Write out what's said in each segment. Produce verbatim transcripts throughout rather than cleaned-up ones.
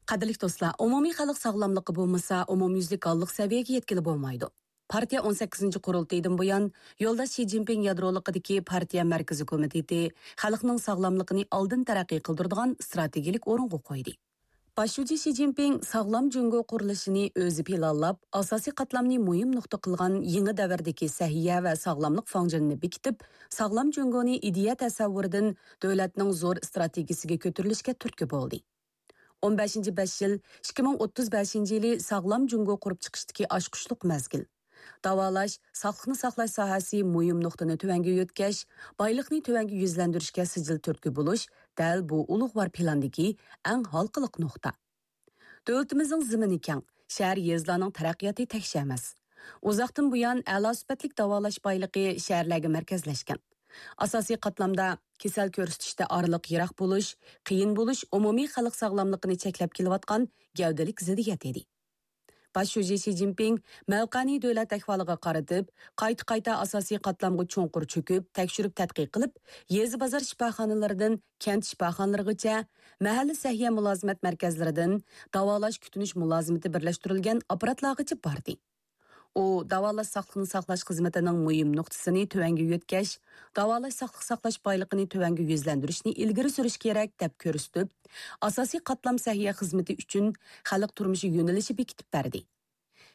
قەدىرلىك دوستلار، ئومۇمىي خەلق ساغلاملىقى بولمىسا، ئومۇميۈزلۈك ھاللىق سەۋىيەگە يەتكىلى بولمايدۇ. پارتىيە ئون سەككىزىنچى قۇرۇلتىيىدىن بۇيان، يولداش شى جىنپىڭ يادرولۇقىدىكى پارتىيە مەركىزىي كومىتېتى خەلقنىڭ ساغلاملىقىنى ئالدىن تەرەققىي قىلدۇرىدىغان ئىستراتېگىيەلىك ئورۇنغا قويدى. باش شۇجى شى جىنپىڭ ساغلام جۇڭگو قۇرۇلۇشىنى ئۆزى پىلانلاپ، ئاساسىي قاتلامنى مۇھىم نۇقتا قىلغان يېڭى دەۋردىكى سەھىيە ۋە ساغلاملىق فاڭجېنىنى بېكىتىپ، ساغلام جۇڭگونى ئىدىيە تەسەۋۋۇرىدىن دۆلەتنىڭ زور ئىستراتېگىيىسىگە كۆتۈرۈلۈشكە تۈرتكە بولدى. ئون بەشىنچى بەش يىل، ئىككى مىڭ ئوتتۇز بەشىنچى يىلى ساغلام جۇڭگو قۇرۇپ چىقىشتىكى ئاچقۇچلۇق مەزگىل. داۋالاش، ساقلىقنى ساقلاش ساھەسى مۇھىم نۇقتىنى تۆۋەنگە يۆتكەش، بايلىقنى تۆۋەنگە يۈزلەندۈرۈشكە سىجىل تۈرتكە بولۇش دەل بۇ ئۇلۇغۋار پىلاندىكى ئەڭ ھالقىلىق نۇقتا. دۆلىتىمىزنىڭ زېمىنى كەڭ، شەھەر، يېزىلارنىڭ تەرەققىياتى تەكشى ئەمەس. ئۇزاقتىن بۇيان ئەلا سۈپەتلىك داۋالاش بايلىقى شەھەرلەرگە مەركەزلەشكەن. ئاساسىي قاتلامدا كېسەل كۆرسىتىشتە ئارىلىق يىراق بولۇش، قىيىن بولۇش ئومۇمىي خەلق ساغلاملىقىنى چەكلەپ كېلىۋاتقان گەۋدىلىك زىددىيەت ئىدى. باش شۇجى شى جىنپىڭ مەۋقەنى دۆلەت ئەھۋالىغا قارىتىپ، قايتا-قايتا ئاساسىي قاتلامغا چوڭقۇر چۆكۈپ، تەكشۈرۈپ تەتقىق قىلىپ، يېزا بازار شىپاخانىلىرىدىن كەنت شىپاخانىلىرىغىچە، مەھەللە سەھىيە مۇلازىمەت مەركەزلىرىدىن داۋالاش كۈتۈنۈش مۇلازىمىتى بىرلەشتۈرۈلگەن ئاپپاراتلارغىچە باردى. ئۇ داۋالاش ساقلىقنى ساقلاش خىزمىتىنىڭ مۇھىم نۇقتىسىنى تۆۋەنگە يۆتكەش، داۋالاش ساقلىق ساقلاش بايلىقىنى تۆۋەنگە يۈزلەندۈرۈشنى ئىلگىرى سۈرۈش كېرەك، دەپ كۆرسىتىپ، ئاساسىي قاتلام سەھىيە خىزمىتى ئۈچۈن خەلق تۇرمۇشى يۆنىلىشى بېكىتىپ بەردى.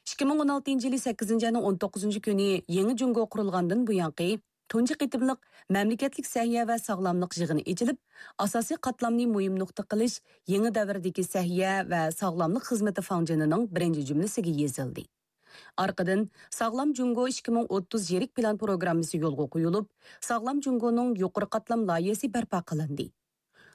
ئىككى مىڭ ئون ئالتىنچى يىلى سەككىزىنچى ئاينىڭ ئون توققۇزىنچى كۈنى يېڭى جۇڭگو قۇرۇلغاندىن بۇيانقى تۇنجى قېتىملىق مەملىكەتلىك سەھىيە ۋە ساغلاملىق يىغىنى ئېچىلىپ، ئاساسىي قاتلامنى مۇھىم نۇقتا قىلىش يېڭى دەۋردىكى سەھىيە ۋە ساغلاملىق خىزمىتى فاڭجېنىنىڭ بىرىنچى جۈملىسىگە يېزىلدى. ئارقىدىن ساغلام جۇڭگو ئىككى مىڭ ئوتتۇز يىرىك پىلان پروگراممىسى يولغا قويۇلۇپ، ساغلام جۇڭگونىڭ يۇقىرى قاتلام لايىھەسى بەرپا قىلىندى.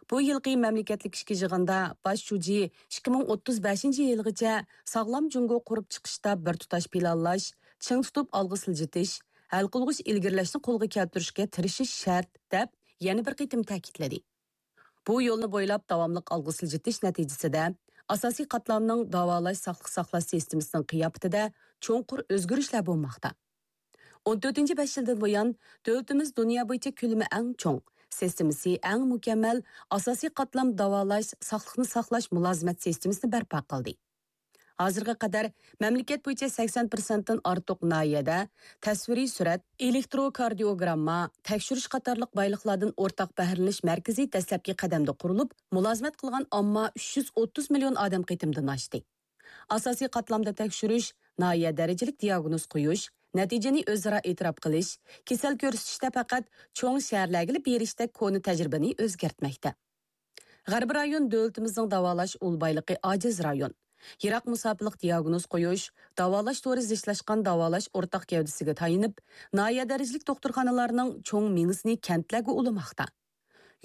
بۇ يىلقى مەملىكەتلىك ئىچكى يىغىندا باش شۇجى ئىككى مىڭ ئوتتۇز بەشىنچى يىلغىچە ساغلام جۇڭگو قۇرۇپ چىقىشتا بىر تۇتاش پىلانلاش، چىڭ تۇتۇپ ئالغا سىلجىتىش، ھەل قىلغۇچ ئىلگىرىلەشنى قولغا كەلتۈرۈشكە تىرىشىش شەرت، دەپ يەنە بىر قېتىم تەكىتلىدى. بۇ يولنى بويلاپ داۋاملىق ئالغا سىلجىتىش نەتىجىسىدە، ئاساسىي قاتلامنىڭ داۋالاش ساقلىق ساقلاش سىستېمىسىنىڭ قىياپىتىدە چوڭقۇر ئۆزگىرىشلەر بولماقتا. ئون تۆتىنچى بەش يىلدىن بۇيان، دۆلىتىمىز دۇنيا بويىچە كۆلىمى ئەڭ چوڭ، سىستېمىسى ئەڭ مۇكەممەل ئاساسىي قاتلام داۋالاش ساقلىقنى ساقلاش مۇلازىمەت سىستېمىسىنى بەرپا قىلدى. ھازىرغا قەدەر مەملىكەت بويىچە سەكسەن پىرسەنتتىن ئارتۇق ناھىيەدە تەسۋىرىي سۈرەت، ئېلېكتروكاردىيوگرامما تەكشۈرۈش قاتارلىق بايلىقلاردىن ئورتاق بەھرىلىنىش مەركىزى دەسلەپكى قەدەمدە قۇرۇلۇپ، مۇلازىمەت قىلغان ئامما ئۈچ يۈز ئوتتۇز مىليون ئادەم قېتىمدىن ئاشتى. ئاساسىي قاتلامدا تەكشۈرۈش، ناھىيە دەرىجىلىك دىياگنوز قويۇش، نەتىجىنى ئۆزئارا ئېتىراپ قىلىش، كېسەل كۆرسىتىشتە پەقەت چوڭ شەھەرلەرگىلا بېرىشتەك كونا تەجرىبىنى ئۆزگەرتمەكتە. غەربىي رايون دۆلىتىمىزنىڭ داۋالاش ئۇل بايلىقى ئاجىز رايون. يىراق مۇساپىلىق دىياگنوز قويۇش، داۋالاش تورى زىچلاشقان داۋالاش ئورتاق گەۋدىسىگە تايىنىپ، ناھىيە دەرىجىلىك دوختۇرخانىلارنىڭ چوڭ مېڭىسىنى كەنتلەرگە ئۇلىماقتا.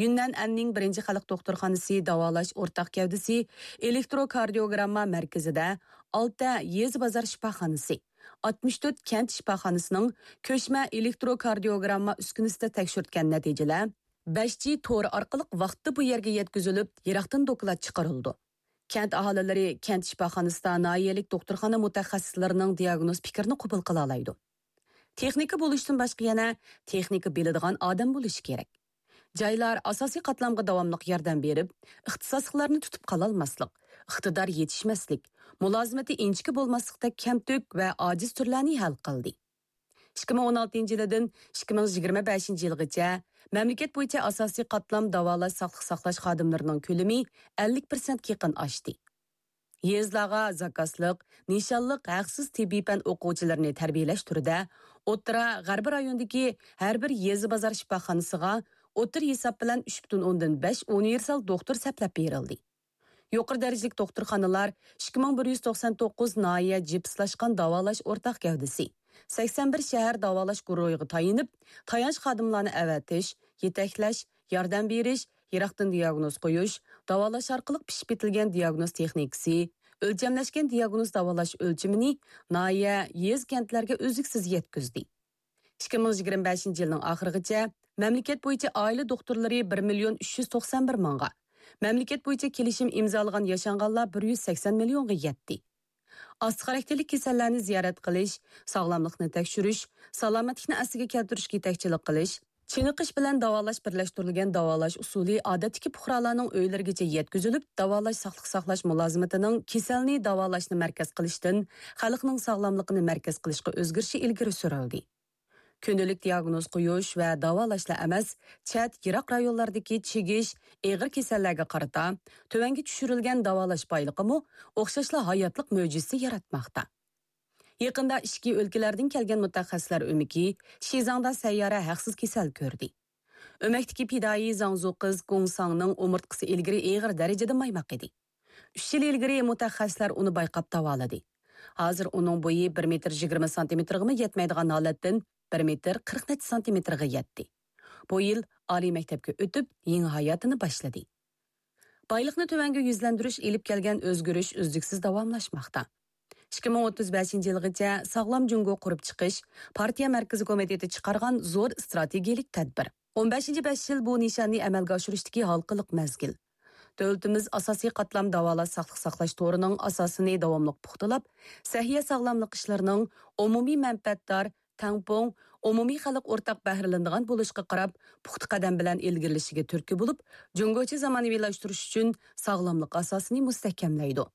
يۈننەن ئەننىڭ بىرىنچى خەلق دوختۇرخانىسى داۋالاش ئورتاق گەۋدىسى ئېلېكتروكاردىيوگرامما مەركىزىدە ئالتە يېزا بازار شىپاخانىسى، ئاتمىش تۆت كەنت شىپاخانىسىنىڭ كۆچمە ئېلېكتروكاردىيوگرامما ئۈسكۈنىسىدە تەكشۈرتكەن نەتىجىلەر بەش جى تورى ئارقىلىق ۋاقتىدا بۇ يەرگە يەتكۈزۈلۈپ، يىراقتىن دوكلات چىقىرىلىدۇ. كەنت ئاھالىلىرى كەنت شىپاخانىسىدا ناھىيەلىك دوختۇرخانا مۇتەخەسسىسلىرىنىڭ دىياگنوز پىكرىنى قوبۇل قىلالايدۇ. تېخنىكا بولۇشتىن باشقا يەنە تېخنىكا بىلىدىغان ئادەم بولۇشى كېرەك. جايلار ئاساسىي قاتلامغا داۋاملىق ياردەم بېرىپ، ئىختىساسلىقلارنى تۇتۇپ قالالماسلىق، ئىقتىدار يېتىشمەسلىك، مۇلازىمىتى ئىنچىكە بولماسلىقتەك كەمتۈك ۋە ئاجىز تۈرلەرنى ھەل قىلدى. ئىككى مىڭ ئون ئالتىنچى يىلىدىن ئىككى مىڭ يىگىرمە بەشىنچى يىلغىچە مەملىكەت بويىچە ئاساسىي قاتلام داۋالاش ساقلىق ساقلاش خادىملىرىنىڭ كۆلىمى ئەللىك پىرسەنتكە يېقىن ئاشتى. يېزىلارغا زاكازلىق، نىشانلىق ھەقسىز تېببىي پەن ئوقۇغۇچىلىرىنى تەربىيەلەش تۈرىدە ئوتتۇرا غەربىي رايوندىكى ھەر بىر يېزا بازار شىپاخانىسىغا ئوتتۇرا ھېساب بىلەن ئۈچ پۈتۈن ئوندىن بەش ئۇنىۋېرسال دوختۇر سەپلەپ بېرىلدى. يۇقىرى دەرىجىلىك دوختۇرخانىلار ئىككى مىڭ بىر يۈز توقسان توققۇز ناھىيە جىپسلاشقان داۋالاش ئورتاق گەۋدىسى، سەكسەن بىر شەھەر داۋالاش گۇرۇھىغا تايىنىپ، تايانچ خادىملارنى ئەۋەتىش، يېتەكلەش، ياردەم بېرىش، يىراقتىن دىياگنوز قويۇش، داۋالاش ئارقىلىق پىشىپ يېتىلگەن دىياگنوز تېخنىكىسى، ئۆلچەملەشكەن دىياگنوز داۋالاش ئۆلچىمىنى ناھىيە، يېزا، كەنتلەرگە ئۈزلۈكسىز يەتكۈزدى. ئىككى مىڭ يىگىرمە بەشىنچى يىلنىڭ ئاخىرىغىچە مەملىكەت بويىچە ئائىلە دوختۇرلىرى بىر مىليون ئۈچ يۈز توقسان بىر مىڭغا، مەملىكەت بويىچە كېلىشىم ئىمزالىغان ياشانغانلار بىر يۈز سەكسەن مىليونغا يەتتى. ئاستا خاراكتېرلىك كېسەللەرنى زىيارەت قىلىش، ساغلاملىقنى تەكشۈرۈش، سالامەتلىكنى ئەسلىگە كەلتۈرۈشكە يېتەكچىلىك قىلىش، چېنىقىش بىلەن داۋالاش بىرلەشتۈرۈلگەن داۋالاش ئۇسۇلى ئادەتتىكى پۇقرالارنىڭ ئۆيلىرىگىچە يەتكۈزۈلۈپ، داۋالاش ساقلىق ساقلاش مۇلازىمىتىنىڭ كېسەلنى داۋالاشنى مەركەز قىلىشتىن خەلقنىڭ ساغلاملىقىنى مەركەز قىلىشقا ئۆزگىرىشى ئىلگىرى سۈرۈلدى. كۈندىلىك دىياگنوز قويۇش ۋە داۋالاشلا ئەمەس، چەت، يىراق رايونلاردىكى چىگىش، ئېغىر كېسەللەرگە قارىتا تۆۋەنگە چۈشۈرۈلگەن داۋالاش بايلىقىمۇ ئوخشاشلا ھاياتلىق مۆجىزىسى ياراتماقتا. يېقىندا ئىچكى ئۆلكىلەردىن كەلگەن مۇتەخەسسىسلەر ئۆمىكى شىزاڭدا سەييارە ھەقسىز كېسەل كۆردى. ئۆمەكتىكى پىدائىي زاڭزۇ قىز گۇڭساڭنىڭ ئومۇرتقىسى ئىلگىرى ئېغىر دەرىجىدە مايماق ئىدى. ئۈچ يىل ئىلگىرى مۇتەخەسسىسلەر ئۇنى بايقاپ داۋالىدى. ھازىر ئۇنىڭ بويى بىر مېتىر يىگىرمە سانتىمېتىرغىمۇ يەتمەيدىغان ھالەتتىن بىر مېتىر قىرىق نەچچە سانتىمېتىرغا يەتتى. بۇ يىل ئالىي مەكتەپكە ئۆتۈپ، يېڭى ھاياتىنى باشلىدى. بايلىقنى تۆۋەنگە يۈزلەندۈرۈش ئېلىپ كەلگەن ئۆزگىرىش ئۈزلۈكسىز داۋاملاشماقتا. ئىككى مىڭ ئوتتۇز بەشىنچى يىلغىچە ساغلام جۇڭگو قۇرۇپ چىقىش پارتىيە مەركىزىي كومىتېتى چىقارغان زور ئىستراتېگىيەلىك تەدبىر. ئون بەشىنچى بەش يىل بۇ نىشاننى ئەمەلگە ئاشۇرۇشتىكى ھالقىلىق مەزگىل. دۆلىتىمىز ئاساسىي قاتلام داۋالاش ساقلىق ساقلاش تورىنىڭ ئاساسىنى داۋاملىق پۇختىلاپ، سەھىيە ساغلاملىق ئىشلىرىنىڭ ئومۇمىي مەنپەئەتدار، تەڭپۇڭ، ئومۇمىي خەلق ئورتاق بەھرىلىنىدىغان بولۇشىغا قاراپ، پۇختا قەدەم بىلەن ئىلگىرىلىشىگە تۈرتكە بولۇپ، جۇڭگوچە زامانىۋىلاشتۇرۇش ئۈچۈن ساغلاملىق ئاساسىنى مۇستەھكەملەيدۇ.